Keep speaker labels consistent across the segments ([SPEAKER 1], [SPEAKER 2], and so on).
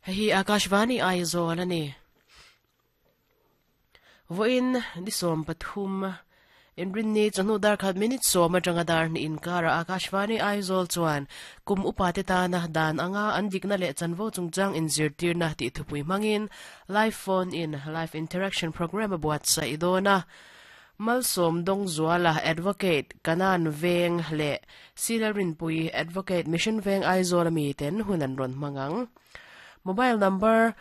[SPEAKER 1] Hei hi Akashvani Aizawl a ni. Vawiin ni 13 Inrinni chawhnu dar khat minute sawm atanga dar hnih inkarah Akashvani Aizawl chuan kum upate tana dan anga an dikna leh chanvo chungchang inzirtirna tih thupui hmangin Live Phone in Live Interaction Programme a buatsaih dawn a. Malsawm Dawngzuala, Advocate, Kanan Veng leh Sila Rinpui, Advocate, Mission Veng Aizawl ami ten hun an rawn hmang ang. Mobile number,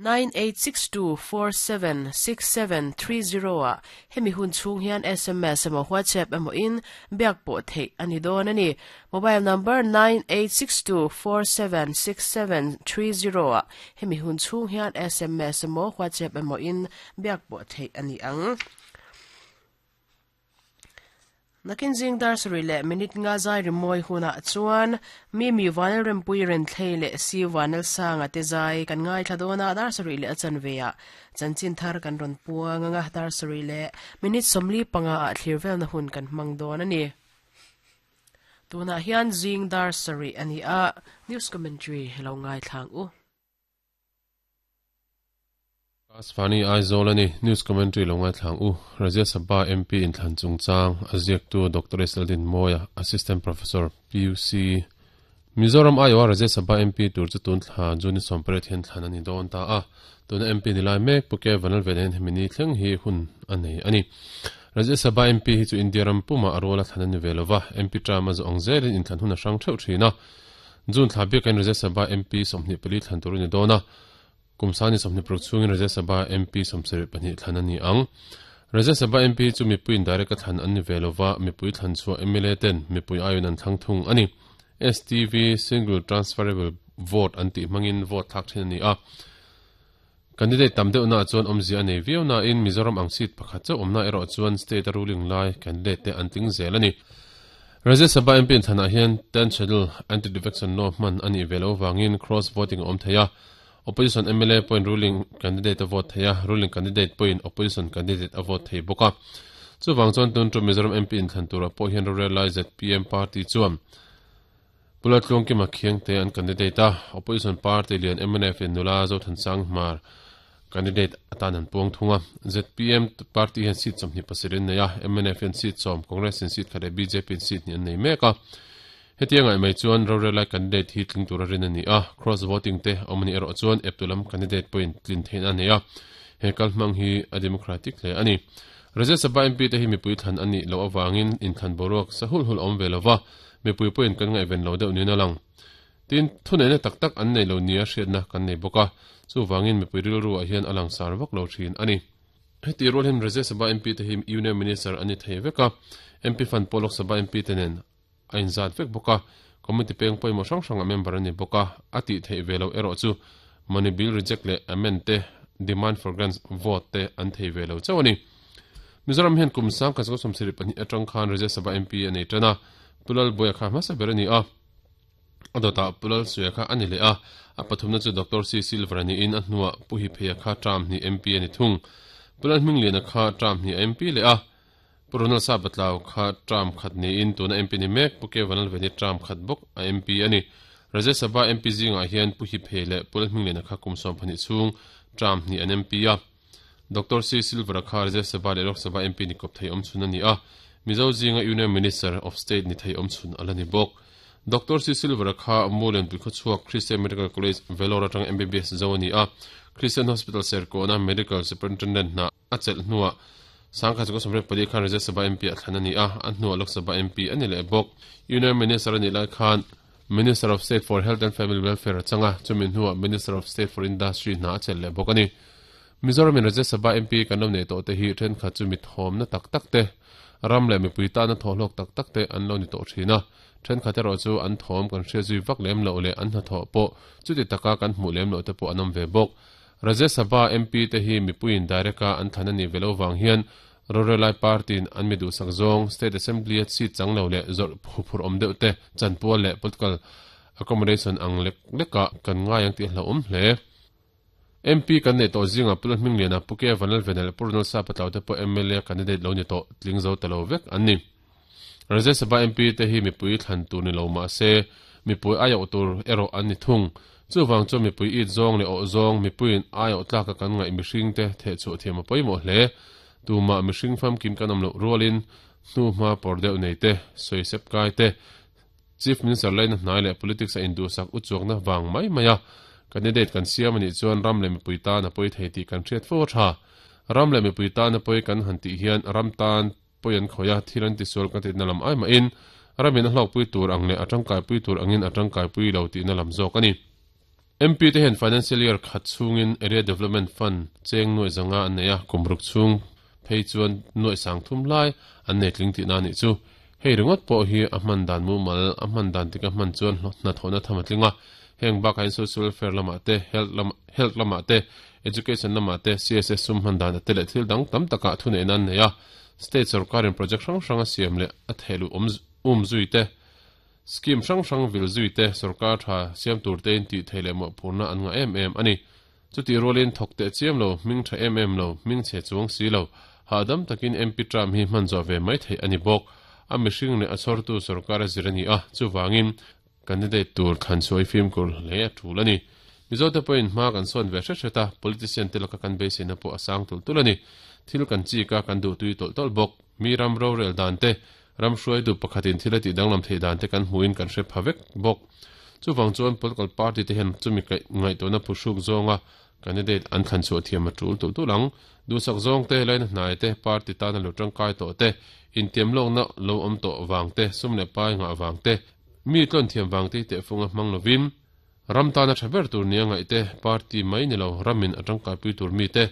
[SPEAKER 1] 9862476730 ah hemi hun chhung hian sms emaw WhatsApp emaw in biak pawh theih a ni dawn a ni. Mobile number, 9862476730 ah hemi hun chhung hian sms emaw WhatsApp emaw in biak pawh theih a ni ang. Nakin zing dar sarih leh minute nga zai rimawi hunah chuan Mimi Vanel Rempui Renthlei leh Si Vanel Sanga te zai kan ngaithla dawn a, dar sarih leh a chanve ah chanchin thar kan rawn puang ang a, dar sarih leh minute 45 ah thlir velna hun kan hmang dawn a ni. Tunah hian zing dar sarih a ni a, news commentary lo ngaithla ang u.
[SPEAKER 2] Asfani Aizawl a ni. News Commentary lo ngaithlang u. Rajya Sabha MP inthlan chungchang a ziaktu Doctor S. Laldinmawia, Assistant Professor, PUC, Mizoram aiawha Rajya Sabha MP tur chu tun thla June ni 18 hian thlan a ni dawn ta a. Tuna MP ni lai mek Pu K. Vanlalvena hian hemi ni thleng hi hun a nei a ni. Rajya Sabha MP hi chu India ram pumah a ruala thlan a ni ve lova, MP term a zawh ang zelin inthlan hun a hrang theuh thin a. June thla biakin Rajya Sabha MP 24 thlan tur a ni dawn a. Kum sani 26 chhungin Rajya Sabha MP 72 thlan a ni ang. Rajya Sabha MP hi chu mipui indirect a thlan an ni ve lova, mipui thlan chhuah mla ten mipui aiawin an thlang thung a ni. STV, Single Transferable Vote, an tih hmangin vote thlak thin a ni a. Candidate tam deuhna ah chuan awmzia a nei viau nain Mizoram ang seat pakhat chauh awmna erawh chuan state a ruling lai candidate te an tling zel a ni. Rajya Sabha MP inthlanah hian Ten Schedule Anti-Defection Law hman a nih ve loh vangin cross voting a awm thei a. Opposition mla pawhin ruling candidate a vote thei a, ruling candidate pawhin opposition candidate a vote thei bawk a. Chuvang chuan tun tum Mizoram MP inthlan turah pawh hian rorel lai zpm party chuan Pu Laltluangkima Khiangte an candidate a, opposition party lian mnf in nula Zothansang Hmar candidate atan an puang thung a. Zpm party hian seat 27 an nei a, mnf hian seat 10, Congress in seat khat leh bjp in seat hnih an nei mek a. Hetiang ngaih mai chuan rorel lai candidate hi tling tura rin a ni a, cross voting te awm a nih erawh chuan eptu lam candidate pawhin tlin theihna a nei a, he kalhmang hi a democratic hle a ni. Rajya Sabha MP te hi mipui thlan a nih loh avangin inthlan boruak sa hulh hulh a awm ve lova, mipui pawhin kan ngaihven lo deuh niin a lang. Tin, thuneihna tak tak an nei lo nia hriatna kan nei bawk a, chuvangin mipui rilru ah hian a langsar vak lo thin a ni. Heti rual hian Rajya Sabha MP te hi Union Minister an ni thei vek a, MP fund pawh Lok Sabha MP te nen a inzat vek bawk a, committee peng pawimawh hrang hrangah member a ni bawk a, a tih theih ve loh erawh chu money bill reject leh amend te, demand for grants vote te an thei ve lo chauh a ni. Mizoram hian kum 1972 atang khan Rajya Sabha MP a nei tan a, Pu Lalbuaia kha hmasa ber a ni a, a dawtah Pu Lalsuia kha a ni leh a, a pathumna chu Doctor C Silver a niin a hnuah Pu Hipheia kha term hnih MP a ni thung. Pu Lalhmingliana kha term hnih a MP leh a, Pu Ronald Sabatlau kha term khat niin tuna MP ni mek Pu Kevan Lalveni term khat bawk a MP a ni. Rajya Sabha MP zingah hian Pu Hiphe leh Pu Lalhmingliana kha kum 12 chhung term hnih an MP a. Doctor C Silver-a kha Rajya Sabha leh Lok Sabha MP ni kawp thei awmchhun a ni a, Mizo zinga Union Minister of State ni thei awmchhun a la ni bawk. Doctor C Silver-a kha Mulianpui khawchhuak Christian Medical College, Vellore atanga MBBS zo a ni a, Christian Hospital Serkawna Medical Superintendent hna A chelh hnuah 1974 khan Rajya Sabha MP a thlan a ni a, a hnuah Lok Sabha MP a ni leh bawk. Union Minister a nih lai khan Minister of State for Health and Family Welfare a chang a, chumi hnuah Minister of State for Industry hna a chelh leh bawk a ni. Mizoramin Rajya Sabha MP kan lo neih tawh te hi thenkhat chu mi thawmna tak tak te, ram leh mipui tana thawhhlawk tak tak te an lo ni tawh thin a, thenkhat erawh chu an thawm kan hriat zui vak lem loh leh an hnathawh pawh chuti taka kan hmuh lem loh te pawh an awm ve bawk. Rajya Sabha MP te hi mipuiin direct a an thlan a nih ve lo vang hian rorelai party in an mi duhsak zawng State Assembly a seat chang lo leh zawrh huphurh awm deuh te chanpual leh political accommodation ang lek lekah kan ngai ang tih a hlauhawm hle. MP kan neih tawh zingah Pu Lalhmingliana, Pu K Vanlalvena leh Pu Ronald Sapatlau te pawh mla candidate lo ni tawh tling zo ta lo vek an ni. Rajya Sabha MP te hi mipui thlan tur ni lo mahse mipui aiawh tur erawh an ni thung. Chuvang chuan mipui it zawng leh awh zawng, mipuiin aiawh tlaka kan ngaih mihringte thehchhuah thiam a pawimawh hle. Tumah mihring famkim kan awm loh rualin hnuhma pawr deuh nei te, sawisep kai te, Chief Minister laina hnai leh politics a induhsak uchuakna vang mai mai a candidate kan siam a nih chuan ram leh mipui tan a pawi thei tih kan hriat fo a tha. Ram leh mipui tan a pawi kan han tih hian ram tan pawi an khawih a, thil an tisual kan tihna lam ai mahin ramin a hlawkpui tur ang leh a tangkaipui tur angin a tangkaipui lo tihna lam zawk a ni. MP te hian Financial Year khat chhungin Area Development Fund cheng nuaih zanga an nei a, kum ruk chhung phei chuan nuaih sang thum lai an nei tling tihna a nih chu. Hei ringawt pawh hi a hman dan mumal, a hman dan tika hman chuan hnathawhna tham a tling a. Heng bakah hian Social Welfare lamah te, Health lam Health lamah te, Education lamah te, CSS sum hman dan te leh thil dang tam takah thuneihna an nei a. State sorkarin project hrang hrang a siam leh a thehluh awm um zui te, Scheme hrang hrang vil zui te, sorkar tha siam tur tein tih theih leh mawhphurhna an ngah em em a ni. Chutih rualin thawk teh chiam lo, hming tha em em lo, hming chhe chuang si lo, hahdam takin MP term hi hman zawh ve mai theih a ni bawk. A mihring leh a chhawrtu sorkar a zir a ni a, chuvangin candidate tur thlan chhuai fimkhur hle a tul a ni. Mizote pawhin hma kan sawn ve hret hret a, politician te laka kan beiseina pawh a sang tulh tulh a ni. Thil kan chik a, kan duhtui tawlh tawlh bawk. Mi ram rorel dan te, ram hruaitu pakhatin thil a tih danglam theih dan te kan hmuhin kan hre pha vek bawk. Chuvang chuan political party te hian chumi ngaihtuahna phuhruk zawnga candidate an thlan chhuah thiam a tul tulh tulh ang. Duhsak zawng te, laina hnai te, party tana lo tangkai tawh te, intiam lawkna lo awm tawh vang te, sum leh pai ngah vang te, mi tlawn thiam vang te hi tehfunga hmang lovin, Ram tana tha ber tur nia ngaih te, party mai ni lo, ramin a tangkaipui tur mi te,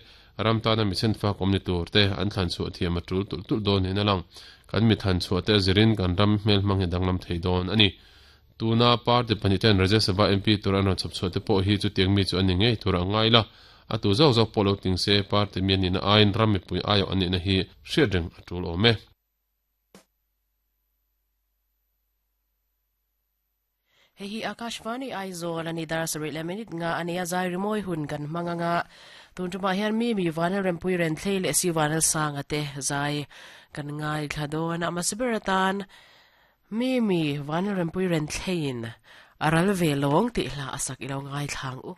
[SPEAKER 2] ram tana mi chhenfak awm ni tur te an thlan chhuah thiam a tul tulh tulh dawn niin a lang. Kan mi thlan chhuah te a zirin kan ram hmelhmang hi danglam thei dawn a ni. Tuna party pahnih ten Rajya Sabha MP tur an rawn chhawp chhuah te pawh hi chutiang mi chu an ni ngei tur a ngai la, a tu zawk zawk pawh lo tling se party mi an nihna aiin ram mipui aiawh an nihna hi hriat reng a tul awm e.
[SPEAKER 1] Hei hi Akashvani Aizawl a ni dar sarih leh minute nga a nia zai rimawi hun kan hmang anga tun tumah hian mi mi Vanel Rempui Renthlei leh si Vanel Sanga te zai kan ngaithla dawn a hmasa ber atan mi mi Vanel Rempui Renthleiin a ral ve lawng tih hla a sak ilo ngaithla ang u.